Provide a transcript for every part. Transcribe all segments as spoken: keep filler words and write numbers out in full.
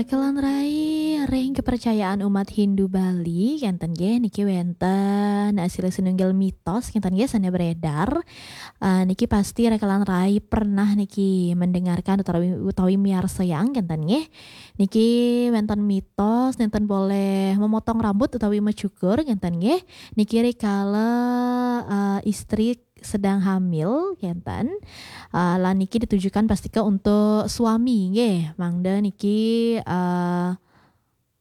Rekelan rai ring kepercayaan umat Hindu Bali, kenten nggih, niki wenten, eh, silih sinunggil mitos, kenten nggih, sane beredar. Eh, niki pasti rekelan rai pernah niki mendengarkan utawi, utawi miarsayang, kenten nggih. Niki wenten mitos, nenten boleh memotong rambut utawi mecukur, kenten nggih. Niki rikala, eh, istri sedang hamil, kenten. Eh, lan niki ditujukan pastika untuk suami, nggih. Mangda niki, eh,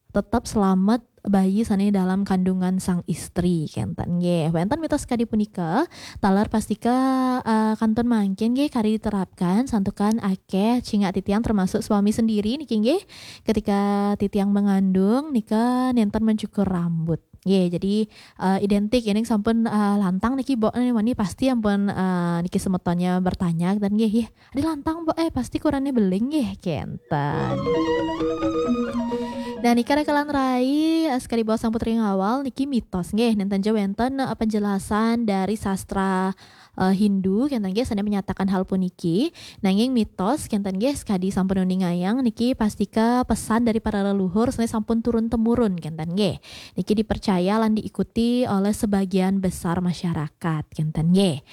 tetap selamat bayi sane dalam kandungan sang istri, kenten nggih. Wenten mitos kadi punika, taler pastika, eh, kantun mangkin nggih kari diterapkan, santukan akeh cingak titiang termasuk suami sendiri niki nggih. Ketika titiang mengandung nika nenten mencukur rambut. Nggih, jadi, eh, identik, yening sampun, eh, lantang niki, Mbok, eh, wani pasti ampun, eh, niki semetonnya bertanya, dan nggih, "Ih, adi lantang, Mbok, eh, pasti kurane beling nggih," kenten. Nah, nika rekelan rai, eh, sekadi bawah sang putri ngawal, niki mitos nggih, nenten ja wenten, eh, penjelasan dari sastra, eh, Hindu, kenten nggih, sane menyatakan hal puniki. Nanging mitos, kenten nggih, sekadi sampun uningayang, niki pastika pesan dari para leluhur, sane sampun turun temurun, kenten nggih. Niki dipercaya lan diikuti oleh sebagian besar masyarakat, kenten nggih.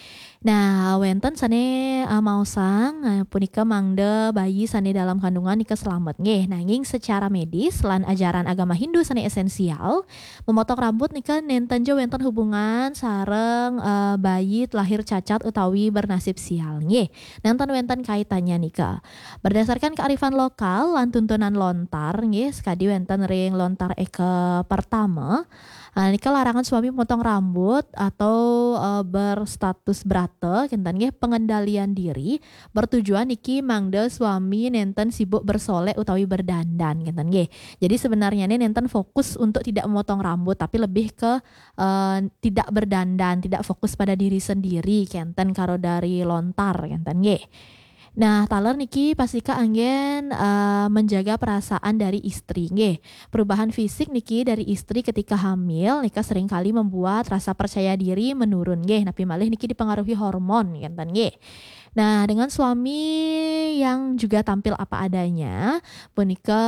Nah, wenten sane, eh, maosang, eh, punika mangda bayi sane dalam kandungan nika selamat nggih. Nanging secara medis lan ajaran agama Hindu sane esensial, memotong rambut nika nenten ja wenten hubungan sareng, eh, bayi lahir cacat utawi bernasib sial nggih. Nenten wenten kaitannya nika. Berdasarkan kearifan lokal lan tuntunan lontar nggih, sekadi wenten ring lontar eka pertama, eh, nika larangan suami memotong rambut atau, eh, berstatus brata, kenten nggih, pengendalian diri, bertujuan niki mangda suami nenten sibuk bersolek utawi berdandan, kenten nggih. Jadi sebenarnya ini nenten fokus untuk tidak memotong rambut, tapi lebih ke, eh, tidak berdandan, tidak fokus pada diri sendiri, kenten karo dari lontar, kenten nggih. Nah, taler niki pastika anggen, eh, menjaga perasaan dari istri nggih. Perubahan fisik niki dari istri ketika hamil nika seringkali membuat rasa percaya diri menurun nggih. Napi malih niki dipengaruhi hormon, kenten nggih. Nah, dengan suami yang juga tampil apa adanya, punika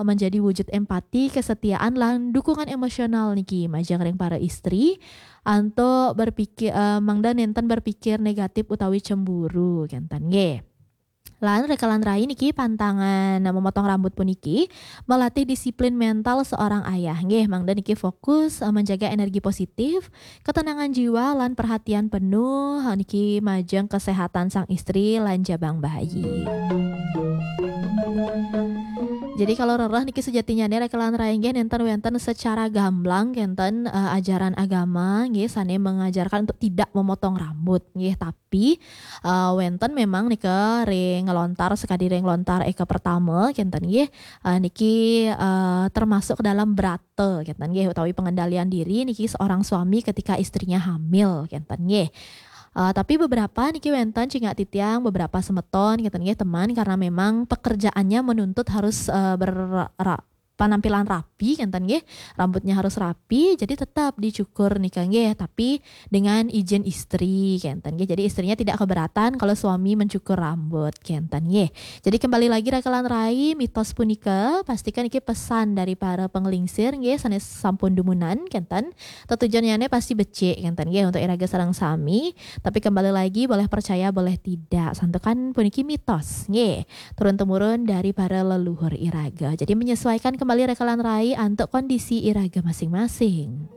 menjadi wujud empati, kesetiaan, lan dukungan emosional niki majeng ring para istri. Antuk berpikir, eh, mangda nenten berpikir negatif utawi cemburu, kenten nggih. Lan rekelan rai niki pantangan memotong rambut puniki melatih disiplin mental seorang ayah nggih, mangda niki fokus, eh, menjaga energi positif, ketenangan jiwa lan perhatian penuh, eh, niki majeng kesehatan sang istri lan jabang bayi. Jadi kalau rereh niki sejatinya nih rekelan rai nggih nenten wenten secara gamblang kenten, eh, ajaran agama nggih sane mengajarkan untuk tidak memotong rambut nggih, tapi, eh, wenten memang nika ring lontar sekadi ring lontar eka pertama kenten nggih, eh, niki, eh, termasuk ke dalam brata kenten nggih utawi pengendalian diri niki seorang suami ketika istrinya hamil kenten nggih. Eh, tapi beberapa niki wenten cingak titiang, beberapa semeton kenten nggih teman, karena memang pekerjaannya menuntut harus, eh, ber-, ra-, penampilan rapi kenten nggih, rambutnya harus rapi, jadi tetap dicukur nika nggih, tapi dengan izin istri kenten nggih. Jadi istrinya tidak keberatan kalau suami mencukur rambut kenten nggih. Jadi kembali lagi rekelan rai mitos punika, pastikan iki pesan dari para penglingsir nggih, sane sampun dumunan kenten. Tetujonnyane pasti becik kenten nggih untuk iraga sareng sami, tapi kembali lagi boleh percaya boleh tidak, santukan puniki mitos nggih. Turun temurun dari para leluhur iraga. Jadi menyesuaikan kembali rekelan rai antuk kondisi iraga masing-masing.